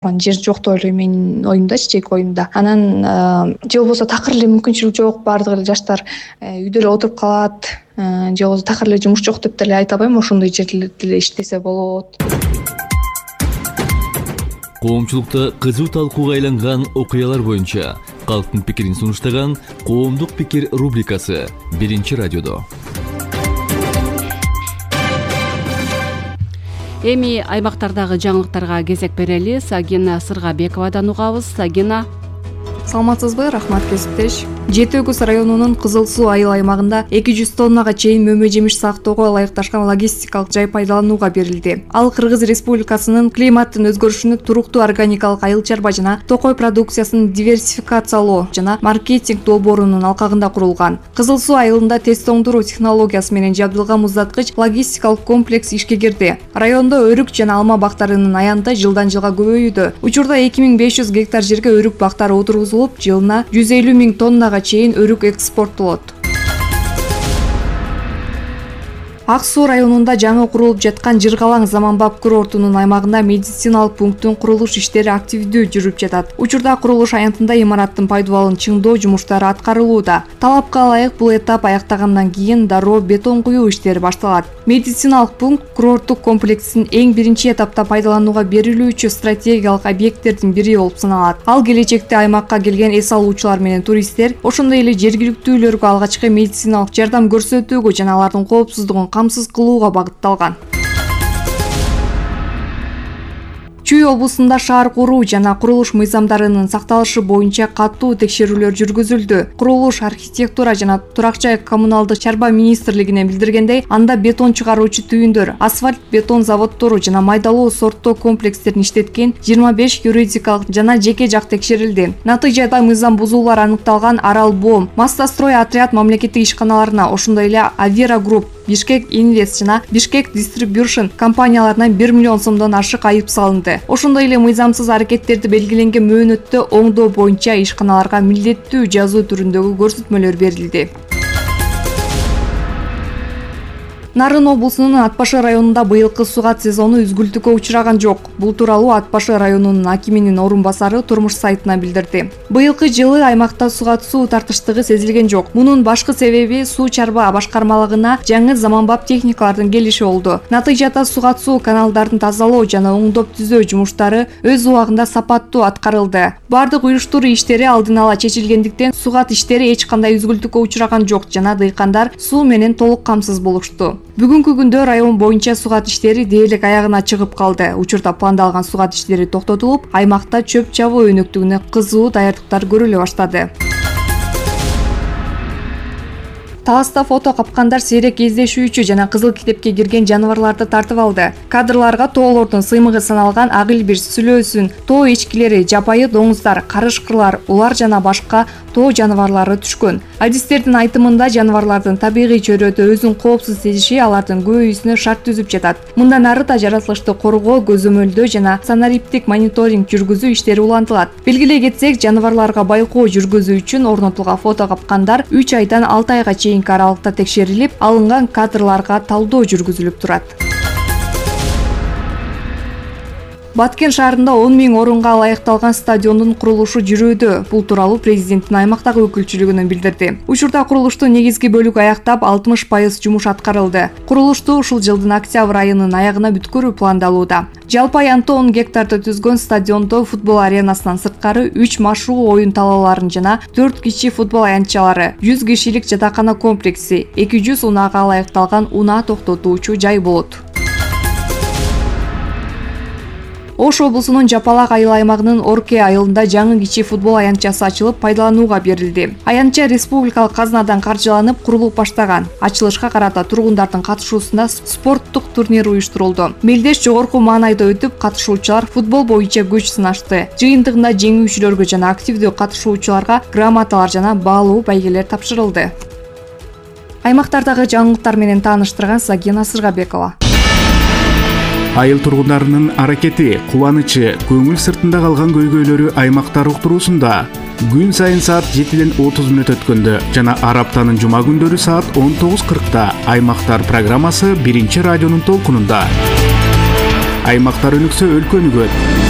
Жер жок деп ойлойм менин оюмдачы, жеке оюмда. Анан же болбосо такыр эле мүмкүнчүлүк жок, баардык эле жаштар үйдө эле отуруп калат, же болбосо такыр эле жумуш жок деп деле айта албайм. Ошондой жерлерде деле иштесе болот. Коомчулукта кызуу талкууга айланган окуялар боюнча калктын пикирин сунуштаган Коомдук пикир рубрикасы Биринчи радиодо. Эми аймактардагы жаңылыктарга кезек берели. Сагина Сыргабековадан угабыз. Сагина. Саламатсызбы? Рахмат, кесиптеш. Жети Өгүз районунун Кызыл Суу айыл аймагында 200 тоннага чейин мөмө-жемиш сактоого ылайыкташкан логистикалык жай пайдаланууга берилди. Ал Кыргыз Республикасынын климаттын өзгөрүшүнө туруктуу органикалык айыл чарба жана токой продукциясын диверсификациялоо жана маркетинг долбоорунун алкагында курулган. Кызыл Суу айылында тез тоңдуруу технологиясы менен жабдылган муздаткыч логистикалык комплекс ишке кирди. Райондо өрүк жана алма бактарынын аянты жылдан жылга көбөйүүдө. Учурда 2500 гектар жерге өрүк бактары отургузулуп, жылына 150 000 тоннага чейин өрүк экспорттолот. Ак Суу районунда жаңы курулуп жаткан Жыргалаң заманбап курортунун аймагында медициналык пункттун курулуш иштери активдүү жүрүп жатат. Учурда курулуш аянтында имараттын пайдубалын чыңдоо жумуштары аткарылууда. Талапка ылайык бул этап аяктагандан кийин дароо бетон куюу иштери башталат. Медициналык пункт курорттук комплекстин эң биринчи этапта пайдаланууга берилүүчү стратегиялык объекттердин бири болуп саналат. Ал келечекте аймакка келген эс алуучулар менен туристтер, ошондой эле жергиликтүүлөргө алгачкы медициналык жардам көрсөтүүгө жана алардын коопсуздугун камсыз кылууга багытталган. Чүй облусунда шаар куруу жана курулуш мыйзамдарынын сакталышы боюнча катуу текшерүүлөр жүргүзүлдү. Курулуш, архитектура жана турак жай коммуналдык чарба министрлигине билдиргендей, анда бетон чыгаруучу түйүндөр, асфальт бетон заводдору жана майдалуу сорттоо комплекстерин иштеткен 25 юридикалык жана жеке жак текшерилди. Натыйжада мыйзам бузуулар аныкталган Аралбом, Мастастрой отряд мамлекеттик ишканаларына, ошондой эле Авира Групп, Бишкек Инвест жана Бишкек Дистрибьюшн компанияларына 1 миллион сомдон ашык айып салынды. Ошондой эле мыйзамсыз аракеттерди белгиленген мөөнөттө оңдоо боюнча ишканаларга милдеттүү жазуу түрүндөгү көрсөтмөлөр берилди. Нарын облусунун Ат Башы районунда быйылкы сугат сезону үзгүлтүккө учураган жок. Бул тууралуу Ат Башы районунун акиминин орун басары Турмуш сайтына билдирди. Быйылкы жылы аймакта сугат суу тартыштыгы сезилген жок. Мунун башкы себеби суу чарба башкармалыгына жаңы заманбап техникалардын келиши болду. Натыйжада сугат суу каналдарын тазалоо жана оңдоп түзөө жумуштары өз убагында сапаттуу аткарылды. Бардык уюштуруу иштери алдын ала чечилгендиктен сугат иштери эч кандай үзгүлтүккө учураган жок жана дыйкандар суу менен толук камсыз болушту. Бүгүнкү күндө район боюнча сугат иштери дээрлик аягына чыгып калды. Учурда пландалган сугат иштери токтотулуп, аймакта чөп чабуу өнөктүгүнө кызуу даярдыктар көрүлө баштады. Таласта фото капкандар сейрек кездешүүчү жана кызыл китепке кирген жаныбарларды тартып алды. Кадрларга тоолордун сыймыгы саналган ак илбирс, сүлөөсүн, тоо эчкилери, жапайы доңуздар, карышкырлар, улар жана башка тоо жаныбарлары түшкөн. Адистердин айтымында жаныбарлардын табигый чөйрөдө өзүн коопсуз сезиши алардын көбөйүүсүнө шарт түзүп жатат. Мындан ары да жаратылышты коргоо, көзөмөлдөө жана санариптик мониторинг жүргүзүү иштери улантылат. Белгилей кетсек, жаныбарларга байкоо жүргүзүү үчүн орнотулган фото капкандар 3 айдан 6 айга чейинки аралыкта текшерилип, алынган кадрларга талдоо жүргүзүлүп турат. Баткен шаарында 10 000 орунга ылайыкталган стадиондун курулушу жүрүүдө. Бул тууралуу президенттин аймактагы өкүлчүлүгүнөн билдирди. Учурда курулуштун негизги бөлүгү аяктап, 60% жумуш аткарылды. Курулушту ушул жылдын октябрь айынын аягына бүткөрүү пландалууда. Жалпы аянты 10 гектарды түзгөн стадиондо футбол аренасынан сырткары 3 машыгуу оюн талааларын жана 4 кичи футбол аянтчалары, 100 кишилик жатакана комплекси, 200 унаага ылайыкталган унаа токтотуучу жай болот. Ош облусунун Жапалак айыл аймагынын Орке айылында жаңы кичи футбол аянтчасы ачылып, пайдаланууга берилди. Аянтча республикалык казнадан каржыланып, курулуп баштаган. Ачылышка карата тургундардын катышуусунда спорттук турнир уюштурулду. Мелдеш жогорку маанайда өтүп, катышуучулар футбол боюнча күч сынашты. Жыйынтыгында жеңүүчүлөргө жана активдүү катышуучуларга грамоталар жана баалуу байгелер тапшырылды. Аймактардагы жаңылыктар менен тааныштырган Сагина Сыргабекова. Айыл тургундарынын аракети, кубанычы, көңүл сыртында калган көйгөйлөрү аймактар уктуруусунда. Күн сайын саат 7:30 өткөндө жана ар аптанын жума күндөрү саат 19:40 Аймактар программасы Биринчи радионун толкунунда. Аймактар өнүксө өлкө өнүгөт.